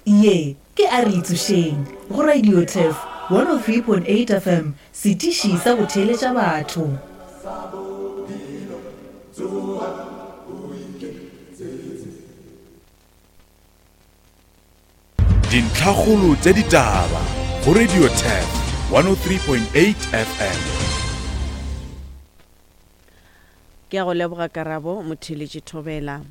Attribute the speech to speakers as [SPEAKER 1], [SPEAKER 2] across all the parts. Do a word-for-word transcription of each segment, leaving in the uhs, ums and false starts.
[SPEAKER 1] Ye ke A Re Itsošeng go Radio Turf one oh three point eight F M, setiši sa go theeletša batho.
[SPEAKER 2] Dintlhakgolo tša ditaba go Radio Turf one oh three point eight F M.
[SPEAKER 3] Ke a go leboga Karabo Motheeletši Thobela.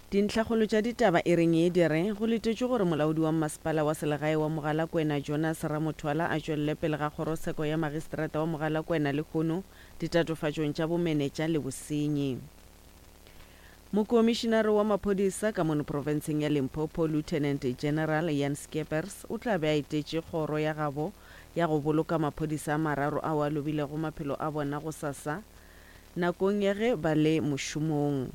[SPEAKER 3] Dintlhakgolo tša ditaba e reng ye di re, go letetšwe gore molaodi wa mmasepala wa selegae wa Mogalakwena Jonas Ramothwala a tšwelele pele ga kgorotsheko ya magistrata wa Mogalakwena lehono ditatofatšong tša bomenetša le bosenyi. Mokomišinare wa maphodisa ka mono profenseng ya Limpopo Lieutenant General Jan Scheepers o tla be a etetše kgoro ya gabo ya go boloka maphodisa a mararo ao a lobilego maphelo a bona gosasa nakong ya ge ba le mošomong.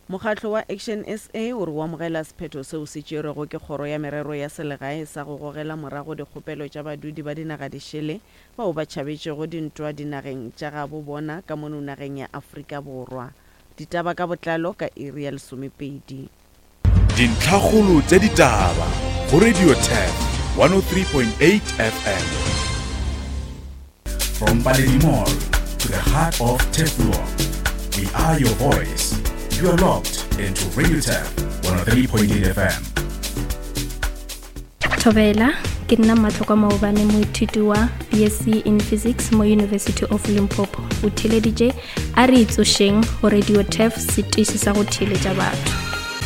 [SPEAKER 3] Mokgatlo wa Action S A o re o amogela sephetho seo se tšerwego ke Kgoro ya Merero ya Selegae sa go gogela morago dikgopelo tša badudi ba dinaga dišele bao ba tšhabetšego dintwa dinageng tša gabo bona ka mono nageng ya Afrika Borwa. Ditaba ka botlalo ka iri ya lesomepedi.
[SPEAKER 2] Dintlhakgolo tša ditaba go Radio Turf one oh three point eight F M. From Paledi Mall to the heart of Turfloop, we are your voice. You are locked into Radio Turf one oh three point eight F M.
[SPEAKER 4] Thobela, ke nna Matlhokwa Maobane, moithuti wa B S C in Physics mo University of Limpopo. O theeleditše A Re Itsošeng go Radio Turf, setiši sa go theeletša batho.